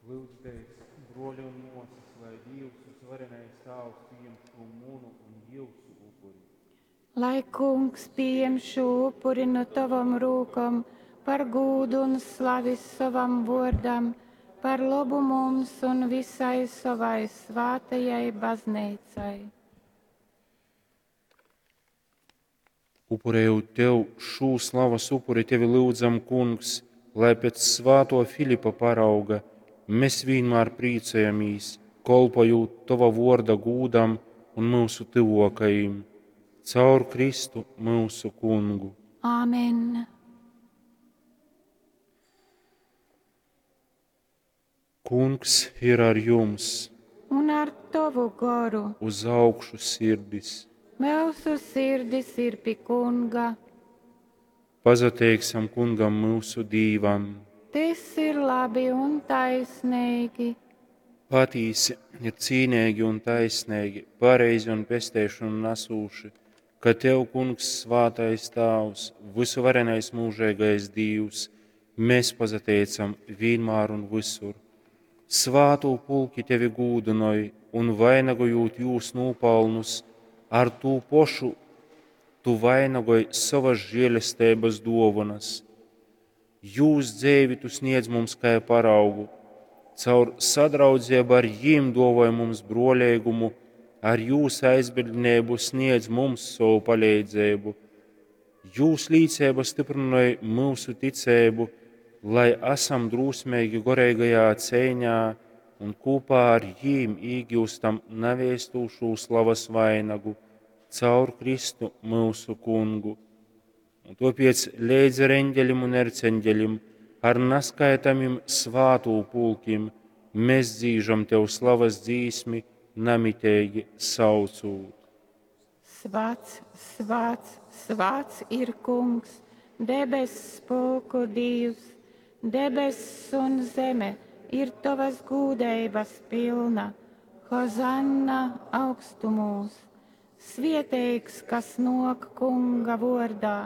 Lyudzitēs, bruoļi un muosys, lai Dīvs Vysuvarenais Tāvs pījam šū munu un jiusu upuri. Lai Kungs pījem šū upuri nu tovom rūkom par gūdu un slavi sovam vuordam, par lobu mums un visai sovai svātajai bazneicai. Upurējot tev šū slavas upuri, tevi lyudzam, Kungs, lai pēc svātuo Filipa parauga mēs vīnmār prīcojamīs, kolpojūt tova vuorda gūdam un myusu tyvuokajim. Caur Kristu myusu Kungu. Āmen. Kungs ir ar jums! Un ar tovu goru. Uz augšu sirdis! Myusu sirdis ir pi Kunga. Pasateiksim Kungam myusu Dīvam! Tys ir labi un taisneigi. Patīsi ir cīneigi un taisneigi, pareizi un pesteišonu nasūši, ka tev, Kungs, svātais Tāvs, vysuvarenais mūžeigais Dīvs, mēs pasateicam vīnmār un vysur. Svātū pulki tevi gūdynoj un vainagojūt jūs nūpalnus, ar tū pošu tu vainagoj sovas žēlesteibas duovanas. Jūs dzeivi tu sniedz mums kai paraugu, caur sadraudzību ar jīm duovoj mums bruoleigumu, ar jūs aizbildneibu sniedz mums sovu paleidzeibu. Jūs līceiba styprynoj myusu ticeibu, lai esam drūsmeigi goreigajā ceiņā un kopā ar jīm īgiustam navēstūšū slavas vainagu caur Kristu myusu Kungu. Un tāpēc leidz ar eņģelim un erceņģelim, ar naskaitamim svātū pulkim, mēs dzīžam tev slavas dzīsmi, namiteigi saucūt. Svāts, svāts, svāts ir Kungs, debess pulku Dīvs, debess un zeme ir tovas gūdeibas pilna. Hozanna augstumūs! Svieteigs, kas nok Kunga vordā,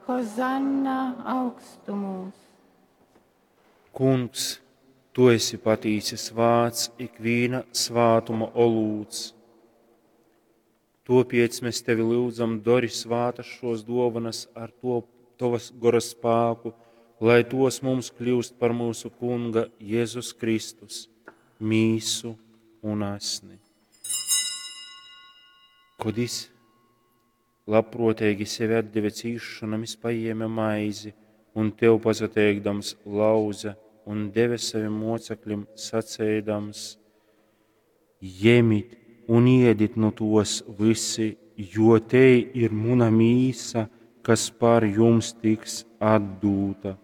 Hozanna augstumūs! Kungs, tu esi patīsi svāts, ikvīna svātuma olūts. Topēc mēs tevi lūdzam, dori svātas šos dovanas ar to tovas gora spāku, lai tos mums kļūst par mūsu Kunga Jēzus Kristus mīsu un asni. Kod is labprōteigi sevi atdeve cīsšonam, is paņēma maizi un tev pasateikdams lauza un deve savim mocekļim, saceidams: Jemit un iedit nu tos visi, jo te ir muna mīsa, kas par jums tiks atdūta.